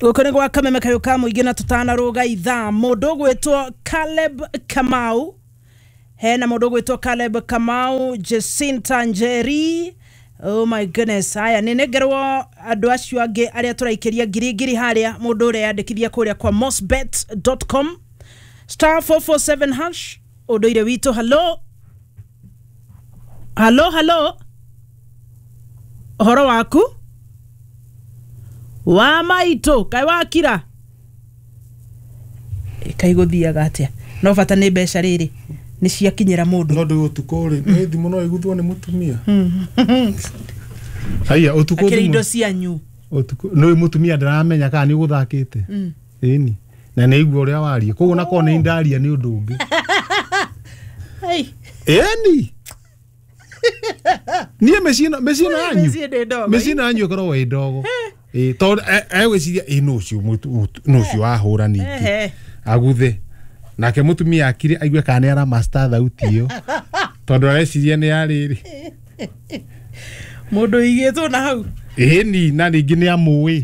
Gũkũ nĩ gwa Kameme kayũ ka mũingĩ na tũtanarũga ithaa, mũndũ ũgwĩtwo Caleb Kamau, hena mũndũ ũgwĩtwo Caleb Kamau, Jacinta Njeri, oh my goodness. Haya, nĩ nengerwo andũ acio angĩ arĩa tũraikĩria ngiri ngiri harĩa. Mũndũ ũrĩa yandĩkithia kũrĩa kwa mosbet.com *447#. Ũndũire witũ. Hello, hello, hello, ũhoro waku wa maitũ? Kaĩ wakira? Kaĩ gũthiaga atĩa? No bata nĩ mbeca rĩrĩ nĩ ciakinyĩra mũndũ. No ndĩ ũtukũ rĩ, nĩ thimũ no ĩguthwo nĩ mũtumia. Haiya, ũtukũ. Akĩrĩ indo thimũ cianyu. Ũtukũ nĩ mũtumia ndaramenya kana nĩ ũgũthakĩte. Ĩni na nĩ aigua ũrĩa waria, koguo nakorwo nĩ ndaria nĩ ũndũ ũngĩ. Hey. Ĩni niĩ mĩciĩ ĩno yanyu. Mĩciĩ ndĩ ndogo. Mĩciĩ ĩno yanyu ĩkoragwo ĩ ndogo. Ĩ, tondũ egwĩciria ĩ nũ ũcio nũ ũcio wahũra ningĩ. Aguthe nake mũtumia akire aigue kana nĩ aramasta thauti ĩyo, tondũ areciria nĩ yarĩrĩ. Mũndũ ũigĩtwo na hau. Ĩni na rĩngĩ nĩ amũĩ.